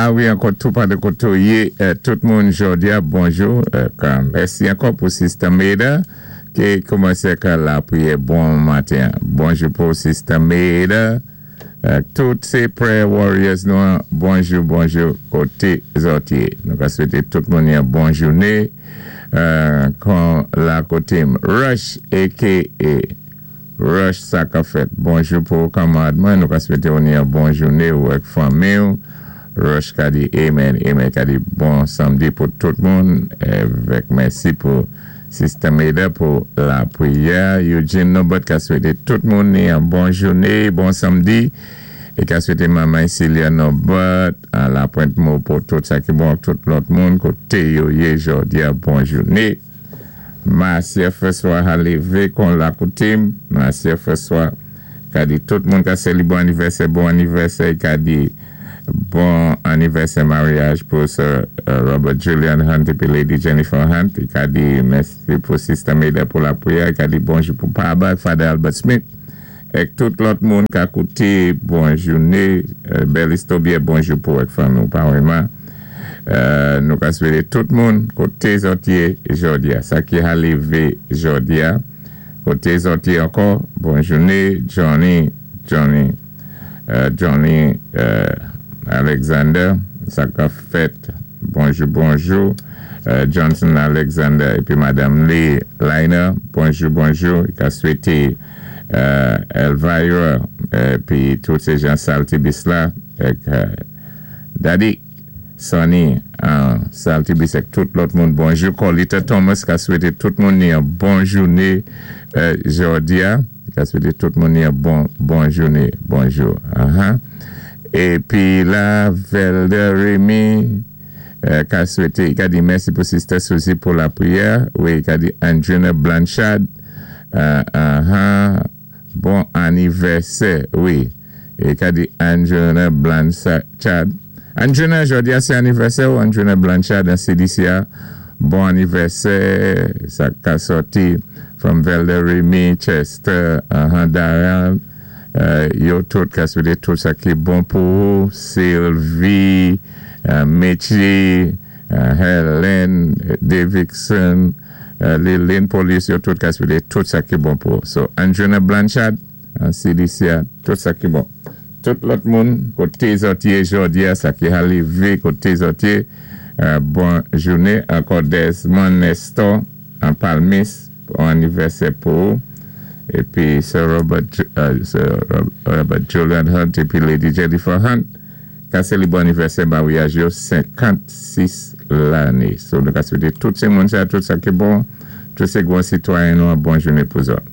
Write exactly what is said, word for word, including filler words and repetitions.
A wi, ankò tou pa de koté ou yé, tout moun jòdi-a, bonjou. Mèsi ankò pou Sister Maida ki koumansé ka lapriyè bon maten. Bonjou pou Sister Maida. Tout sé prayer warriors nou, bonjou, bonjou, koté zòt yé. Nou ka swété tout moun yon bon jouné. Kon la koté Rush, A K A. Rush sa ka fèt. Bonjou pou kanmarad mwen. Nou ka swété ou yon bon jouné ou ak fanmi ou. Rush ka di amen, amen, ka di bon samdi pou tout moun. Avèk mèsi pou Sister Maida pou lapriyè. Eugene Nobot ka swété tout moun yon bon jouné, bon samdi. É ka swété manman Celia Nobot a la pwent mou pou tout sa ki bon tout lòt moun koté yo yé jòdi-a, bon jouné. Marcia François a lévé kon la koutim. Marcia François ka di tout moun ka sé li bon anivèsè, bon anivèsè, ka di bon anivèsè maryaj pou Sir Robert Julian Hunt épi Lady Jennifer Hunt. I ka di mèsi pou Sister Maida pou lapriyè. I ka di bonjou pou Papa, Father Albert Smith. Ek tout lòt moun ka kouté, bon jouné. Bel istobye, bonjou pou ek fanmi nou pa wèman. Nou ka swété tout moun koté zòt yé jòdi-a. Sa ki a lévé jòdi-a. Koté zòt yé ankò, bon jouné. Johnny, Johnny, Johnny Alexander, sa ka fèt, bonjou, bonjou. Johnson Alexander épi Madame Lee Liner, bonjou, bonjou. Ka swété Elvira, épi tout sé jan Saltibus la, ek Daddy Sonny, Saltibus ek tout lòt moun, bonjou. Colita Thomas ka swété tout moun ni yon bon jouné jòdi-a. Ka swété tout moun ni yon bon, bon jouné, bonjou. Épi la, Velda Remy ka swété, ka di mèsi pou Sister Suzy pou lapriyè. Wi, ka di Andrina Blanchard, bon anivèsè, wi. É ka di Andrina Blanchard. Andrina, jòdi-a sé anivèsè ou Andrina Blanchard an C D C A. Bon anivèsè, sa ka sòti from Velda Remy, Chester, Darren. Yo tout ka swété tout sa ki bon pou ou. Sylvie, Mechi, Helen, Davidson, Lilin Police, yo tout ka swété tout sa ki bon pou ou. So, Andrina Blanchard, C D C A, tout sa ki bon. Tout lòt moun, koté zòt yé jòdi-a, sa ki a lévé, koté zòt yé, bon jouné. Ankò Desmond Nestor, an Palmis, bon anivèsè pou ou. Épi Sir Robert, Sir Robert Julian Hunt épi Lady Jennifer Hunt, ka sé li bon anivèsè maryaj yo, senkannsis lanné. So nou ka swété tout sé moun sa, tout sa ki bon, tout sé gwan sitwayen nou, bon jouné pou zòt.